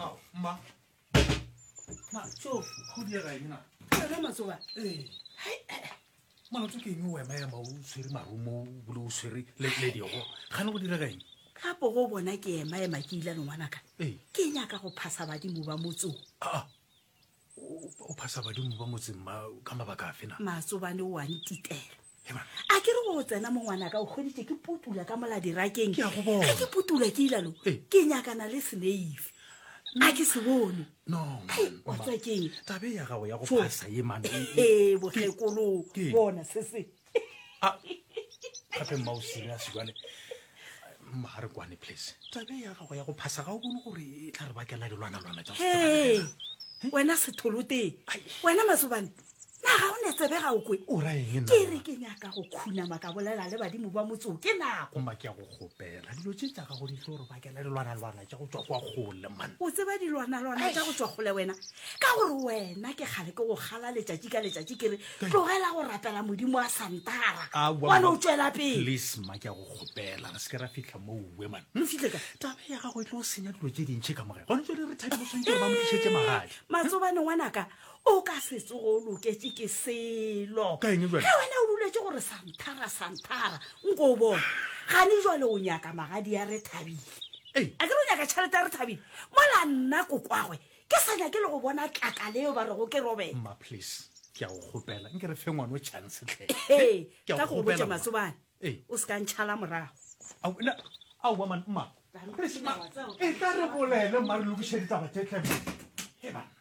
Ao, mma. Na, so go diega eng na? Wena matsoba. Ee. Molato ke eng o ema ema o tshwere marumo o bile o tshwere le le digo? Gane go direga eng? Gape go bona ke ema ema ke ile le ngwanaka. Ee. Ke nyaka go phasa badimo ba motsong. Ah. O o phasa badimo ba motseng ma ka mabaka afe na? Matsobane o a ntitela. A ke re go tsena mo ngwanaka o hweditše ke putula ka mola dirakeng. Ke a go bona. Ge ke putula ke ilalo Ee. ke nyakana le seneifi. A ke se bone. No, Hei, man, wa mma. tseba keng? Taba e ya gago ya go Fo. phasa ye man. e- e- Ee, bokgekolo. Ke- Bona se se. Ah, gape mma o serious jwale. Mma ga re kwane please. Taba e ya gago ya go phasa ga o bone gore e tla re bakela dilwanalwana tša go se Hei, tsebane. wena setholoteng. Ai. Wena matsobane. Na ga o ne tsebe ga o kwe? O ra eng nna? Ke re ke nyaka go khunama ka bolela le badimo ba motse o ke nako. Mma ke a go kgopela dilo tše tša gago di tlo re bakela dilwanalwana tša go tšwa kwa kgole man. O tseba dilwanalwana tša go tšwa kgole wena ka gore wena ke kgale ke go kgala letšatši ka letšatši ke re tlogela go rapela modimo wa santara Aowa, wa no mma. tšwela pele. Please mma ke a go kgopela re se ke ra fihla moo man. Re fihle kae? Taba ya gago e tlo senya dilo tše dintši ka morago. Gone jwale re thabile o swanetše gore ba mo tlišetše magadi. Matsobane ngwanaka O ka se tsoge o loketše ke selo. Ka eng bjale? Ge wena o duletše gore santhara, santhara, nko o bone. Gane jwale o nyaka magadi a Rethabile. Ei. A ke re o nyaka tšhelete ya Rethabile? Mola nna kokwagwe ke sa nyake le go bona tlakala eo ba rego ke Robert. Mma, please, ke a go kgopela, nke re fe ngwano chance hle. Hei, Ke a tla go go botša kgopela, mma. Matsobane, Ei. o se ka ntšhala morago. Ao, na, aowa man, mma. Please, mma, e tla re bolele, mma, re lokiše ditaba tše hle, mma. Hei, banna.